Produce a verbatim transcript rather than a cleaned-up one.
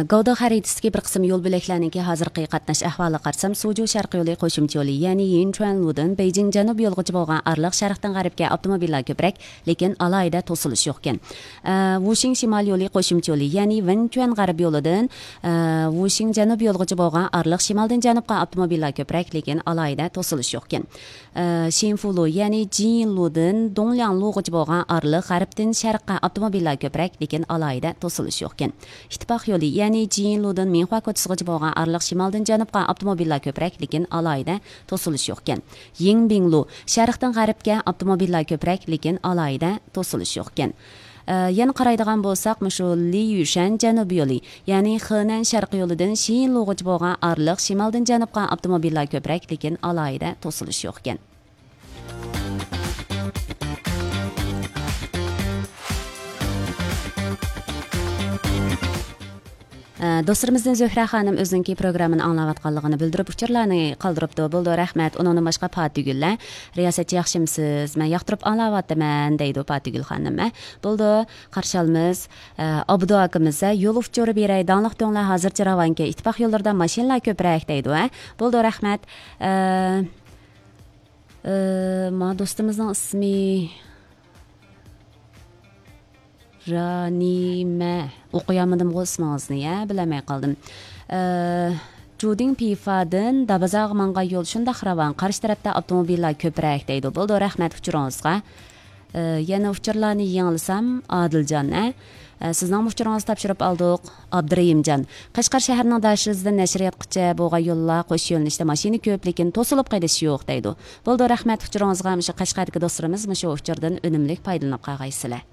گاۋدې خەرىتىسىدىكى بىر قىسىم يول بۆلەكلەرنىڭكى ھازىرقى قاتناش ئەھۋالىغا قارىسام، سۇجۇ شەرقىي يولى قوشۇمچە يولى، يەنى يىنچۈەنلۇدىن بېيجىڭ جەنۇبىي يولىغىچە بولغان ئارىلىق شەرقتىن غەربكە ئاپتوموبىللار كۆپرەك، لېكىن ئالاھىدە توسۇلۇش يوقكەن. ئە، ۋۇشىڭ شىمال يولى قوشۇمچە يولى، يەنى ۋېنچۈەن غەربىي يولىدىن، ئە، ۋۇشىڭ جەنۇبىي يولىغىچە بولغان ئارىلىق شىمالدىن جەنۇبقا ئاپتوموبىللار كۆپرەك، لېكىن ئالاھىدە توسۇلۇش يوقكەن. ئە، شىنفۇلۇ، يەنى جىنلۇدىن دۇڭلياڭلۇغىچە بولغان ئارىلىق غەربتىن شەرققە ئاپتوموبىللار كۆپرەك، لېكىن ئالاھىدە توسۇلۇش يوقكەن. ئىتتىپاق يولى، يەنى جىنلۇدىن مىنخۇا كوچىسىغىچە بولغان ئارىلىق شىمالدىن جەنۇبقا ئاپتوموبىللار كۆپرەك، لېكىن ئالاھىدە توسۇلۇش يوقكەن. يىڭبىڭلۇ، شەرقتىن غەربكە ئاپتوموبىللار كۆپرەك، لېكىن ئالاھىدە توسۇلۇش يوقكەن. ئە، يەنە قارايدىغان بولساق، مۇشۇ لىيۈشەن جەنۇبىي يولى، يەنى خېنەن شەرقىي يولىدىن شىنلۇغىچە بولغان ئارىلىق شىمالدىن جەنۇبقا ئاپتوموبىللار كۆپرەك، لېكىن ئالاھىدە توسۇلۇش يوقكەن. ئە، دوستلىرىمىزدىن زۆھرە خانىم ئۆزىنىڭكى پروگراممىنى ئاڭلاۋاتقانلىقىنى بىلدۈرۈپ، ئۇچۇرلارنى قالدۇرۇپتۇ. بولىدۇ، رەھمەت. ئۇنىڭدىن باشقا پاتىگۈللەر، رىياسەتچى ياخشىمسىز؟ مەن ياقتۇرۇپ ئاڭلاۋاتىمەن، دەيدۇ پاتىگۈل خانىم. ئە، بولىدۇ، قارشى ئالىمىز. ئە، ئابدۇ ئاكىمىز، ئە، يول ئۇچۇرى بېرەي، داڭلىق تۆڭلەر ھازىرچە راۋانكەن، ئىتتىپاق يوللىرىدا ماشىنىلار كۆپرەك، دەيدۇ. ئە، بولىدۇ، رەھمەت. ئە، ئە، ما دوستىمىزنىڭ ئىسمى رانىمە. ئوقۇيالمىدىمغۇ ئىسمىڭىزنى، يا، بىلەلمەي قالدىم. ئە، جۇدىڭ پىفادىن دابازاغا ماڭغان يول شۇنداق راۋان، قارشى تەرەپتە ئاپتوموبىللار كۆپرەك، دەيدۇ. بولىدۇ، رەھمەت ئۇچۇرىڭىزغا. ئە، يەنە ئۇچۇرلارنى يېڭىلىسام، ئادىلجان، ئە؟ ئە، سىزنىڭ ئۇچۇرىڭىزنى تاپشۇرۇپ ئالدۇق، ئابدۇرېھىمجان. قەشقەر شەھىرىنىڭ داشىزىدىن نەشرىياتقىچە بولغان يوللار قوش يۆنىلىشتە ماشىنا كۆپ، لېكىن توسۇلۇپ قېلىش يوق، دەيدۇ. بولىدۇ، رەھمەت ئۇچۇرىڭىزغا. مۇشۇ قەشقەردىكى دوستلىرىمىز مۇشۇ ئۇچۇردىن ئۈنۈملۈك پايدىلىنىپ قالغايسىلەر.